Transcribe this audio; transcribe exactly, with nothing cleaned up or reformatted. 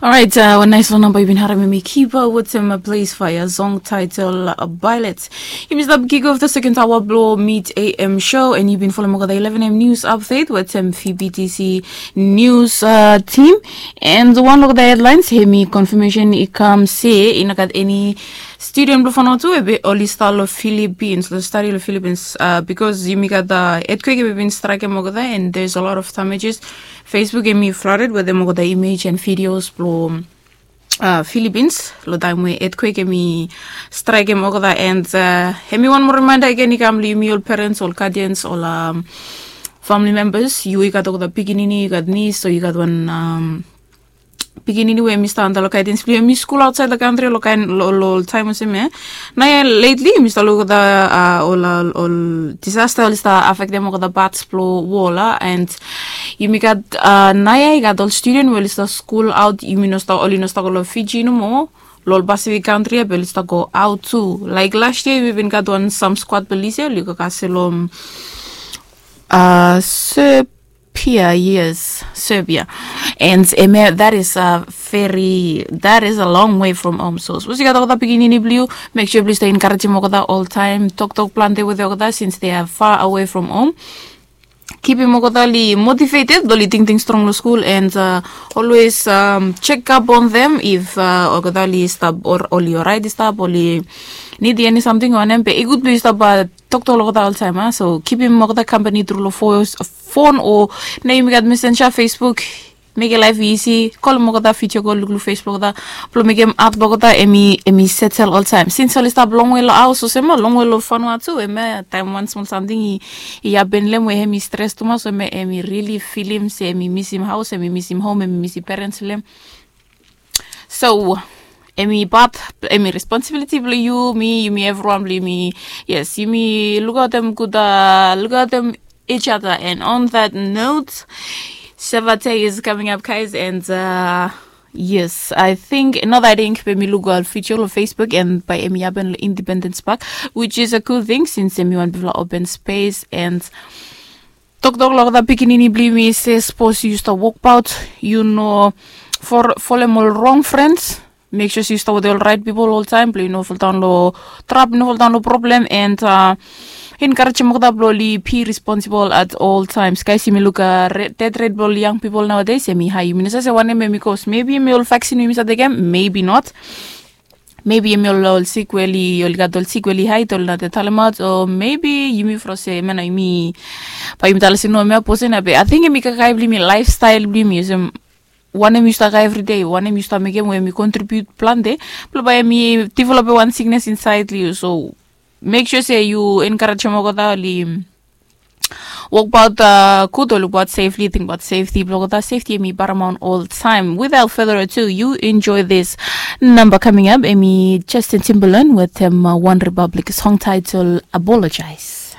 Orait, wan nais long namba yu bin harim em i kiba wetem Blaze Fire song title Violet. Yumi stap kick off the second hour blo Mid A M show, and yu bin follow olgeta eleven A M news update wetem V B T C news team. And wan olgeta headlines hemi confirmation i kam se i no gat eni student blo Vanuatu ebe oli stap lo Philippines, lo stadi lo Philippines, because yumi gat earthquake ebe bin straikem olgeta, and there's a lot of damages. Facebook hemi flooded wetem olgeta image and videos blo Philippines lo taem we earthquake hemi straikem olgeta. And hemi wan moa reminder agen i kam lo yumi ol parents, ol guardians, ol family members. Yu i gat olgeta pikinini, yu gat niece, o yu gat wan pikinini we hemi stap antap lo guidance blo yu, hemi skul aotsaed lo kantri lo kaen lo taem olsem ya. Naoia lately yumi stap luk olgeta ol ol disaster oli stap afektem olgeta parts blo wol a, and yumi gat naoia i gat ol student we oli stap skul aot, yumi no stap, oli no stap go lo Fiji nomo, lo ol Pacific kantri ya be oli stap go aot tu. Laik last year yumi bin gat wan sam squad blo Lise oli go kasem lo Serbia, yes, Serbia. And em ya, that is a very, that is a long way from home. So sapos yu gat olgeta pikinini blo yu, make sure blo yu stap encouragem olgeta oltaem, toktok plante wetem olgeta since they are far away from home. Kipim olgeta oli motivated, oli tingting strong lo skul, and always check up on them if olgeta oli stap, oli oraet i stap, oli nidim eni samting o wanem. Be i gud blo yu stap toktok lo olgeta oltaem a. So kipim olgeta kampani tru lo fon o, naoia yumi gat Messenger, Facebook. Mekem laef i isi, kolem olgeta video kol, lukluk face blo olgeta, blo mekem hat blo olgeta hemi setel oltaem. Since oli stap longwe lo haos olsem ya, longwe lo Vanuatu, hemia taem wan smol samting i hapen lo hem we hemi stres tumas, hemia hemi rili filim se hemi misim haos, hemi misim hom, hemi misim parents blo hem. So hemi pat, hemi responsibility blo yu, mi, yumi, evriwan blo yumi. Yes, yumi lukaotem gud, lukaotem each other. And on that note, Shavate is coming up, guys, and yes, I think another thing be mi luk ol video lo Facebook, and bae hemi hapen lo Independence Park, which is a cool thing since hemi wan bigfala open space. And toktok lo olgeta pikinini blo yumi se sapos yu stap wokbaot, yu no folem ol rong friends. Make sure se yu stap wetem ol raet pipol oltaem blo yu no foldaon lo trap, yu no foldaon lo problem. And encouragem olgeta blo oli be responsible at all times. Guys, yumi luk death rate blo ol young people nowadays hemi hae. Yumi no save se wanem hemi cause. Maybe hemi ol vaccine we yumi stap tekem, maybe not. Maybe hemi ol sik we oli, oli gat ol sik we oli haed, oli no talemaot, o maybe yumi fro se hemia nao yumi, bae yumi talem se no, hemia posen ya. Be ating hemi kakae blo yumi, lifestyle blo yumi, olsem wanem yu stap kakae evridei, wanem yu stap mekem we hemi contribute plante blo bae hemi developem wan sickness insaed lo yu. So make sure se yu encouragem olgeta oli wokbaot gud, o lukbaot safely, tingbaot safety blo olgeta. Safety hemi paramount oltaem. Without further ado, you enjoy this number coming up. Hemi Justin Timberlake wetem One Republic song title Apologize.